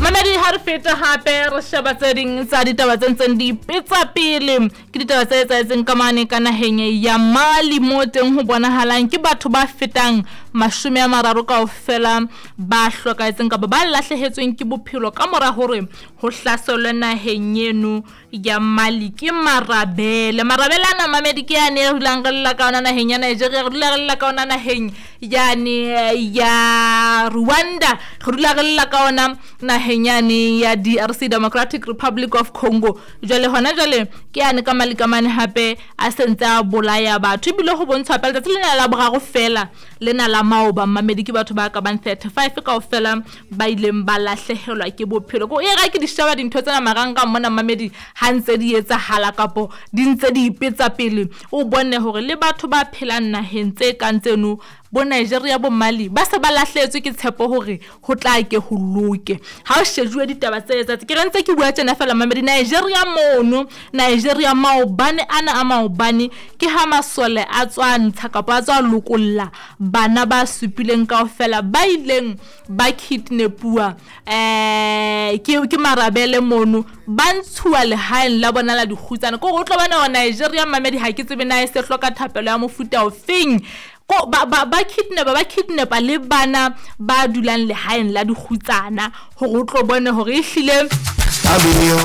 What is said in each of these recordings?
Mamedi ha re feta hape re sheba tse ding tsa ditaba tse ntseng di ipetsa pele. Ke ditaba tse etsahetseng ka mane ka naheng ya Mali mo teng ho bonahalang ke batho ba fetang 30 kaofela ba hlokahetseng kapa ba lahlehetsweng ke bophelo ka mora hore ho hlaselwe naheng eno ya Mali ke marabele. Marabele ana mamedi ke yane e dulang re lla ka ona naheng ya Nigeria, re dula re lla ka ona naheng yane ya Rwanda, re dula re lla ka ona naheng yane ya DRC, Democratic Republic of Congo. Jwale hona jwale ke yane ka Mali ka mane hape a sentse a bolaya batho, ebile ho bontshwa hape letsatsi lena la boraro fela lena la maoba mamedi ke batho ba ka bang 35 kaofela ba ileng ba lahlehelwa ke bophelo. Ko e ra ke di sheba dintho tsena marangrang mona mamedi ha ntse di etsahala kapo di ntse di ipetsa pele, o bone hore le batho ba phelang naheng tse kang tseno bo Nigeria bo Mali ba se ba lahlehetswe ke tshepo hore ho tla ke ho loke. Ha o shejuwe ditaba tse etsahetse, ke re ntse ke bua tjena fela mamedi, Nigeria mono, Nigeria maobane ana a maobane ke ha masole a tswa ntsha kapa a tswa lokolla bana ba supileng kaofela ba ileng ba kidnapuwa ke marabele mono, ba ntshuwa lehaeng la bona la dikgutsana. Ke hore o tlo bona hore Nigeria mamedi ha ke tsebe na e se hloka thapelo ya mofuta ofeng. Ko ba kidnapa, ba kidnapa le bana ba dulang lehaeng la dikgutsana hore o tlo bone hore ehlile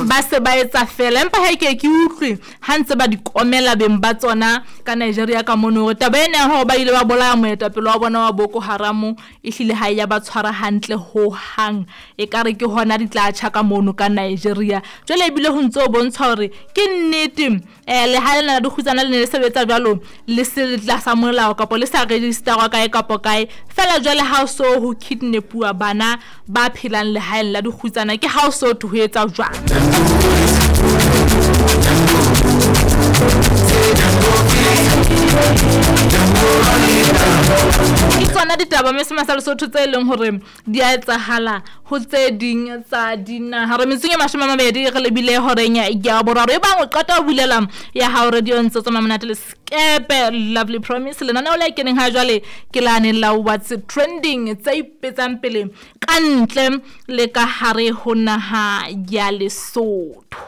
ba se ba etsa fela. Empa ha ke utlwe ha ntse ba di komela beng ba tsona ka Nigeria ka mono hore taba ena ya hore ba ile ba bolaya moetapele wa bona wa Boko Haram ehlile ha ya ba tshwara hantle ho hang, ekare ke hona di tla tjha ka mono ka Nigeria. Jwale ebile ho ntse ho bontsha hore ke nnete lehae lena la dikgutsana le ne le sebetsa jwalo le se tlasa molao kapa le sa registerwa kae kapa kae fela. Jwale ha o so ho kidnapuwa bana ba phelang lehaeng la dikgutsana, ke ha o so ho etsa jwang. Ke tsona ditaba mme sema sa Lesotho tse leng hore di a etsahala ho tse ding tsa dinaha. Re metsong e 20 re lebile horeng ya boraro. E bang o qeta ho bulela ya hao radio ntse tsamaya monate le Skepe Lovely Promise, lenaneo le keneng ha jwale ke lane la What's Trending tse ipetsang pele ka ntle le ka hare ho naha ya Lesotho.